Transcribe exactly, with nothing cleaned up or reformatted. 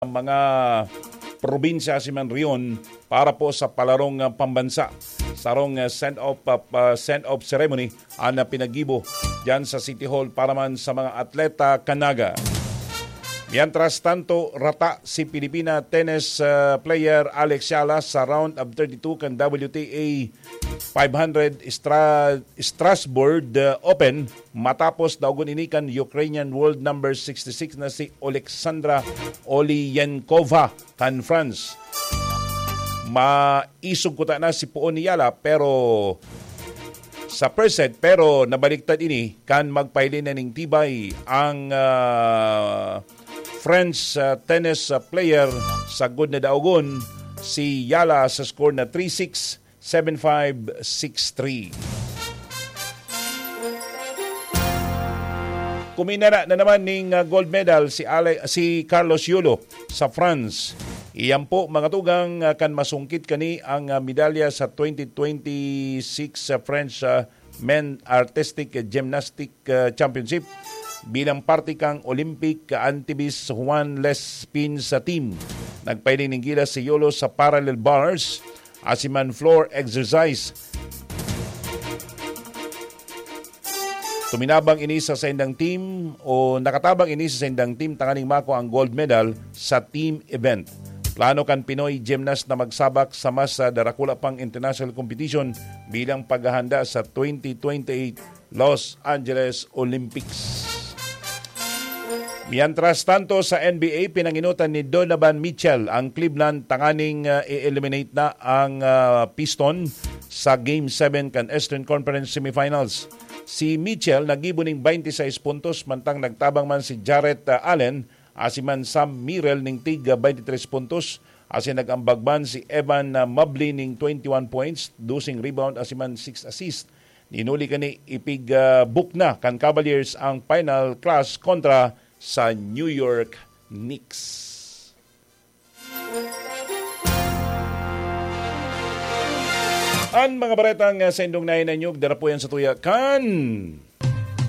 mga probinsya si Manrion para po sa palarong, ah, pambansa. Sarong, ah, send-off, ah, pa-, send-off ceremony ang, ah, pinaggibo diyan sa City Hall para man sa mga atleta kanaga. Mientras tanto, rata si Pilipina tennis, ah, player Alex Yala sa round of thirty-two kan W T A five hundred Stra-, Strasbourg, ah, Open matapos daogon ini kan Ukrainian world number sixty-six na si Oleksandra Olienkova kan France. Maisog kuta na si poon ni Yala, pero sa first set, pero nabaliktad ini kan magpahiling na ning tibay ang, ah, French, ah, tennis, ah, player sa good na daogon, si Yala, sa score na three six, seven five, six three. Kuminara na naman ning, ah, gold medal si Ale-, si Carlos Yulo sa France. Iyan po, mga tugang, ah, kan masungkit kani ang, ah, medalya sa twenty twenty-six, ah, French, ah, Men Artistic Gymnastic, ah, Championship bilang parte kan Olympic Antibes Juan Lespin sa team. Nagpahiling nin gilas si Yulo sa parallel bars, asin man floor exercise. Tuminabang ini sa saindang team o nakatabang ini sa saindang team tanganing makua ang gold medal sa team event. Plano kan Pinoy gymnast na magsabak sa mas, ah, darakula pang international competition bilang paghahanda sa twenty twenty-eight Los Angeles Olympics. Mientras tanto, sa N B A, pinanginutan ni Donovan Mitchell ang Cleveland tanganing, ah, i-eliminate na ang, ah, Piston sa Game seven kan Eastern Conference Semifinals. Si Mitchell naggibo ning twenty-six puntos, mantang nagtabang man si Jarrett, ah, Allen asin man Sam Merrill ning tig, ah, twenty-three puntos, asin nag-ambag man si Evan, ah, Mobley ning twenty-one points, doseng rebound asin man six assist. Nin huli kani, ipig, ah, book na kan Cavaliers ang final clash kontra sa New York Knicks. An mga baretang, ah, sa indong nainanyog, dara po yan sa tuya kan